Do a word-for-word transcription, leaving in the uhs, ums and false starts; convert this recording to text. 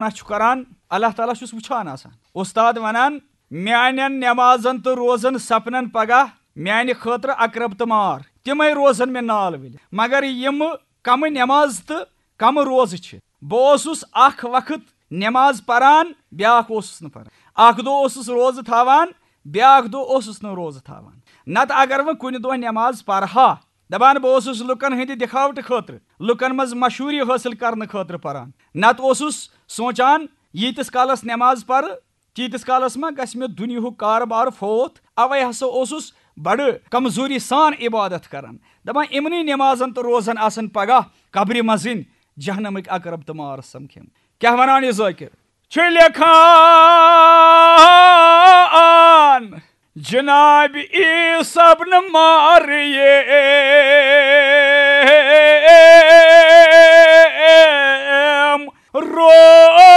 نہ چھُ کران، اللہ تعالیٰ چھُس وٕچھان آسان۔ استاد ونان، میانٮ۪ن نمازن تہٕ روزن سپنن پگاہ میانہِ خٲطرٕ اقرب تہٕ مار، تِمے روزن مےٚ نال ؤلِتھ۔ مگر یِم کمہٕ نماز تہٕ کمہٕ روزٕ چھِ۔ بہٕ اوسُس اکھ وقت نماز پران، بیاکھ اوسُس نہٕ پران۔ اکھ دۄہ اوسُس روزٕ تھاوان، بیاکھ دۄہ اوسُس نہٕ روزٕ تھاوان۔ نتہٕ اگر وۄنۍ کُنہِ دۄہ نماز پرہا، دپان بہٕ اوسُس لُکن ہٕنٛدِ دِکھاوٹہٕ خٲطرٕ، لُکن منٛز مشہوٗری حٲصِل کرنہٕ خٲطرٕ پران۔ نتہٕ اوسُس سونچان، ییٖتِس کالس نماز پرٕ، تیٖتِس کالس ما گژھِ مےٚ دُنیاہُک کارٕبار فوت؟ اوے ہسا اوسُس بڑٕ کمزوری سان عبادت کران، دپان، یِمنٕے نمازن تہٕ روزن آسن پگاہ قبرِ منٛزٕنۍ جہنمٕکۍ عقرب تہٕ مار سمکھِم۔ کیٛاہ ونان یہِ ذٲکِر؟ چھُ لیکھان جناب عیسیٰ ابن مریم، رو